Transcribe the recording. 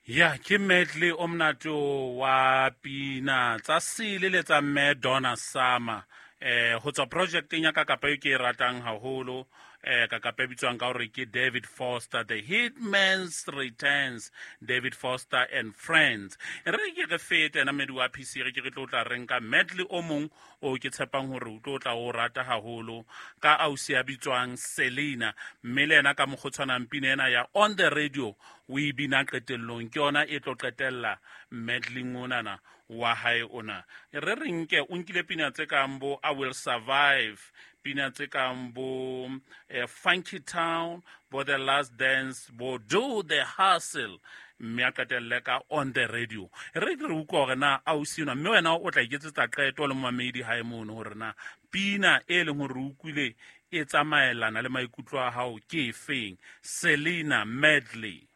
Ya ke medley o monate wa pina tsa sele le tsa mme Donna Summer ho tswa projecteng ya ka kapa eo ke e ratang haholo, ka kapa e bitswang ka hore ke David Foster The Hitman's Returns, David Foster and Friends. Re ke re fete ena mmedi wa PC, re ke re tlo tla re nka medley o mong o ke tshepang hore o tlo tla o rata haholo ka ausi ya bitswang Selena, mme le ena ka mokgwa o tshwanang pina ena ya On the Radio o e bina qetellong, ke yona e tlo qetella medley onana wa hae ona. Re re nke o nkile pina tse kang bo I Will Survive, pina tse kang bo Funky Town, bo The Last Dance, bo Do the Hustle, mme a qetelle ka On the Radio. Re ke re utlwa hore na ausi enwa, mme wena o tla iketsetsa qeto le momamedi hae mono hore na pina e leng hore o utlwile e tsamaelana le maikutlo a hao ke efeng. Selena medley.